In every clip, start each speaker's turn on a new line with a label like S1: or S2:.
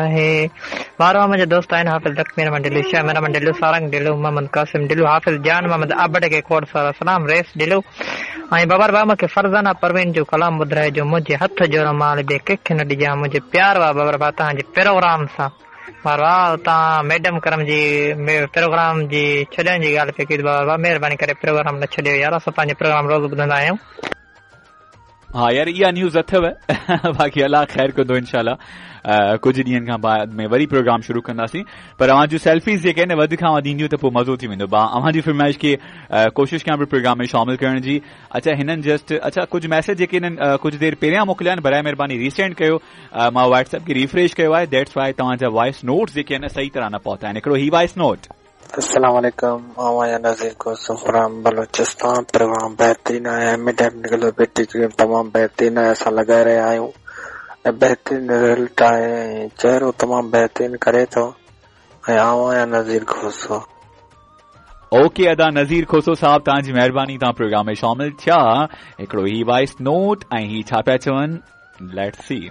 S1: آهي. وارو منهنجا دوست آهن حافظ لکمي رحمان ڍلو، شاهه رحمان ڍلو، سارنگ ڍلو، محمد قاسم ڍلو، حافظ جان محمد ابڙ کي کوڙ سارا سلام رئيس ڍلو ۽ بابر ڀاء مونکي فرزانه پروين جو ڪلام ٻڌرائجو منهنجي هٿ جو رومال ٻئي ڪنهن کي نه ڏجان منهنجي پيار وا بابر ڀاء توهان جي پروگرام سان وارو توهان ميڊم ڪرم جي پروگرام جي ڇڏڻ جي ڳالهه پئي ڪئي بابر ڀاء مهرباني ڪري پروگرام نه ڇڏيو يار اسان توهان جو پروگرام روز ٻڌندا آهيون.
S2: ها يار اها نيوز اٿو باقي الله خير ڪندو انشاء الله ڪجهه ڏينهن کان بعد ۾ وري پروگرام شروع ڪنداسين پر اوهان جون سيلفيز جيڪي آهن وڌ کان وڌ اينديون ته پوء مزو ٿي ويندو با اوهان جي فرمائش کي ڪوشش ڪيان پيو پروگرام ۾ شامل ڪرڻ جي اڇا هنن جسٽ اڇا ڪجهه ميسج جيڪي هنن ڪجهه دير پهريان موڪليا آهن برائي مهرباني ريسينڊ ڪيو مان واٽس ايپ کي ريفريش ڪيو آهي that's why توهان جا وائس نوٽس جيڪي آهن صحيح طرح نه پهتا آهن هڪڙو هي وائس نوٽ
S3: السلام عليڪم آئون آهيان نذير کوسو فرام بلوچستان پروگرام بهترين آهي هيمي ڊائمنڊ گلو بيوٽي ڪريم تمام بهترين آهي اسان لڳائي رهيا آهيون ۽ بهترين رزلٽ آهي ۽ چهرو تمام بهترين ڪري ٿو ۽ آئون آهيان نذير کوسو.
S2: اوڪي ادا نذير کوسو صاحب توهان جي مهرباني توهان پروگرام ۾ شامل ٿيا هڪڙو هي وائس نوٽ ۽ هي ڇا پيا چون let's see.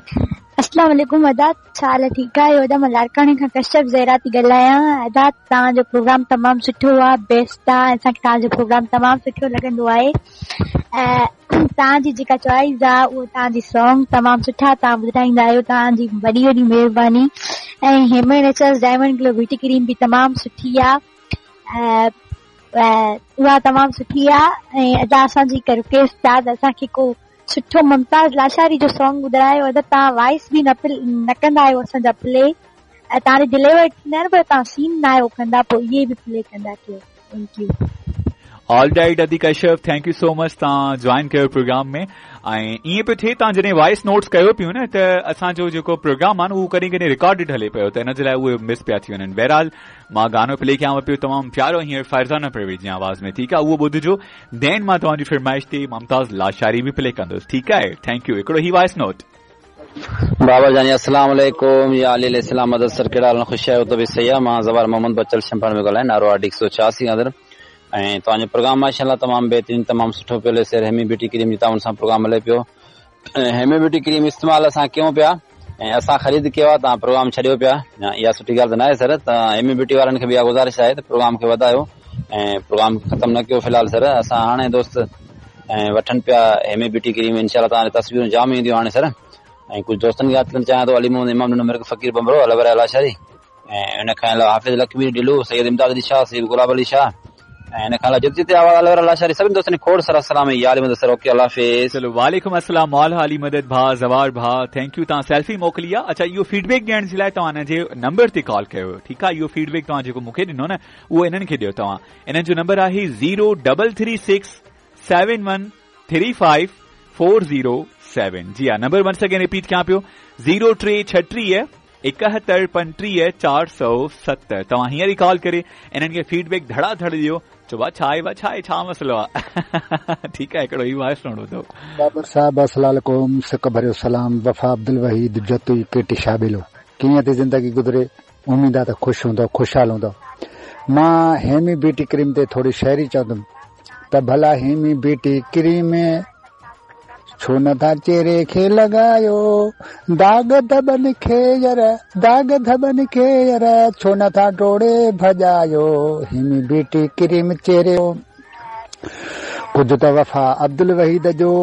S4: اسلام عليڪم ادا ڇا حال ٺيڪ آهيو ادا مان لاڙڪاڻي کان ڪشيپ زهرا ٿي ڳالهايان ادا توهان جو پروگرام تمام سٺو آ بيسٽ آ اسان کي توهان جو پروگرام تمام سٺو لڳندو آهي ۽ توهان جي جيڪا چوائس آ اهو توهان جي سانگ تمام سٺا توهان ٻڌائيندا آهيو توهان جي وڏي وڏي مهرباني ۽ هيمي نيچرلز ڊائمنڊ گلو بيوٽي ڪريم به تمام سٺي آ ۽ اها تمام سٺي آ ۽ ادا اسان جي هڪ رڪويسٽ آ ته اسان کي ڪو سٺو ممتاز لاشاري جو سانگ ٻڌرايو ادا توهان وائس به نه نه ڪندا آهيو اسان جا پلي ۽ توهان جي ڊليور ٿيندا آهن پر توهان سين نه آهيو ڪندا پوء اهي به پلي ڪندا ڪيو thank you.
S2: All right ادي ڪشيپ thank you سو مچ توهان جوائن ڪيو پروگرام ۾ ۽ ائين پيو ٿئي توهان جڏهن وائس نوٽس ڪيو پيو نه ته اسان جو جيڪو پروگرام آهي نه اهو ڪڏهن ڪڏهن رڪارڊڊ هلي پيو ته ان جي لاء اهي مس پيا ٿي وڃن بهرحال مان گانو پلي ڪيانو پيو تمام پيارو هينئر فرزانه پروين جي آواز ۾ ٺيڪ آهي اهو ٻڌجو دين مان توهان جي فرمائش تي ممتاز لاشاري به پلي ڪندس ٺيڪ آهي thank you هڪڙو هي وائس نوٽ.
S5: بابا جاني السلام عليڪم يا علي عليه السلام مدد سر ڪهڙا حال آهن خوش آهيو طبيعت صحيح آهي مان زوار محمد بچل شمپاڻ پيو ڳالهايان نارو آر ڊي 186 اندر ۽ توهان جو پروگرام ماشاءالله تمام بهترين تمام سٺو پيو هلي سر هيمي بيوٽي ڪريم جي تعاون سان پروگرام هلي پيو ۽ هيمي بيوٽي ڪريم استعمال اسان ڪيون پيا ۽ اسان خريد ڪيو آهي توهان پروگرام ڇڏيو پيا اها سٺي ڳالهه ته ناهي سر ته هيمي بيوٽي وارن کي به اها گذارش آهي ته پروگرام کي وڌايو ۽ پروگرام ختم نه ڪيو في الحال سر اسان هاڻي دوست ۽ وٺن پيا هيمي بيوٽي ڪريم انشاء الله توهان جي تصويرون جام اينديون هاڻي سر ۽ ڪجهه دوستن کي ياد ڪرڻ چاهيان ٿو علي محمد امام ڏنو مرڪ فقير ڀنڀرو الور لاشاري ۽ ان کان علاوه حافظ لکمير ڍلو، سيد امداد علي شاهه، سيد گلاب علي شاهه ۽ ان کان علاوه جتي جتي آواز الور لاشاري سڀني دوستن کي کوڙ سارا سلام يا علي مدد سر اوڪي الله حافظ.
S2: چلو وعليڪم السلام مولا علي مدد ڀاء زوار ڀاء thank you توهان سيلفي موڪلي آ اڇا اهو فيڊ بيڪ ڏيڻ جي لاء توهان انهن جي نمبر تي ڪال ڪيو ٺيڪ آ اهو فيڊ بيڪ توهان جيڪو مون کي ڏنو نه اهو انهن کي ڏيو توهان انهن جو نمبر آهي zero double three six seven one three five four zero seven جي ها نمبر ونس اگين رپيٽ ڪيان پيو زيرو ٽي ڇٽيهه ايڪهتر پنٽيهه چار سؤ ست توهان هينئر ئي ڪال ڪري انهن کي فيڊ بيڪ ڌڙا ڌڙ ڏيو چئو ڀا ڇا آهي ڀا ڇا آهي ڇا مسئلو آهي ٺيڪ آهي هڪڙو هي وائس نوٽ ٻڌو.
S6: بابر صاحب السلام عليڪم سڪ ڀريو سلام وفا عبدالوحيد جتوئي ڪيٽي شابيلو ڪيئن ٿي زندگي گذري اميد آ ته خوش هوندؤ خوشحال هوندؤ مان هيمي بيوٽي ڪريم تي ٿوري شاعري چوندم ته ڀلا هيمي بيوٽي ڪريم ڇو نه ٿا چهري کي لڳايو داغ ڌٻن کي ير داغ ڌٻن کي ير ڇو نه ٿا ڊوڙي ڀڄايو هيمي بيوٽي ڪريم چهري ڪجهه ته وفا عبدالوحيد جو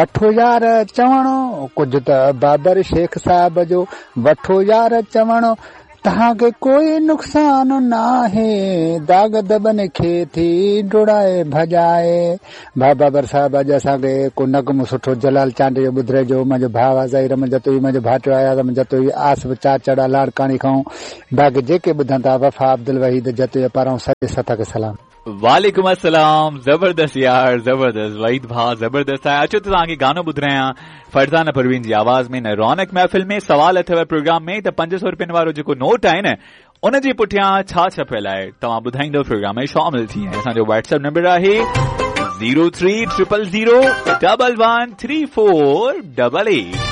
S6: وٺو يار چوڻو ڪجهه ته بابر شيخ صاحب جو وٺو يار چوڻو توهان کي ڪوئي نقصان ناهي داغ ڌٻن کي ٿي ڊوڙائي ڀڄائي. ڀاء بابر صاحب اڄ اسان کي ڪو نغمو سٺو جلال چانڊيي جو ٻڌرائجو منهنجو ڀاء آ ظهير احمد جتوئي منهنجو ڀائٽيو اياز احمد جتوئي آصف چاچڙ لاڙڪاڻي کان باقي جيڪي ٻڌن ٿا وفا عبدالوحيد جتوئي پاران سڄي سٿ کي سلام.
S2: وعليڪم السلام زبردست يار زبردست وحيد ڀاء زبردست آهي اچو ته توهان کي گانو ٻڌرايان فرزانه پروين جي آواز ۾ نه رونق محفل ۾ سوال اٿو پروگرام ۾ ته 500 روپين وارو جيڪو نوٽ آهي نه ان جي پٺيان ڇا ڇپيل آهي توهان ٻڌائيندو پروگرام ۾ شامل ٿي ۽ اسان جو واٽس ايپ نمبر آهي 03000 113488.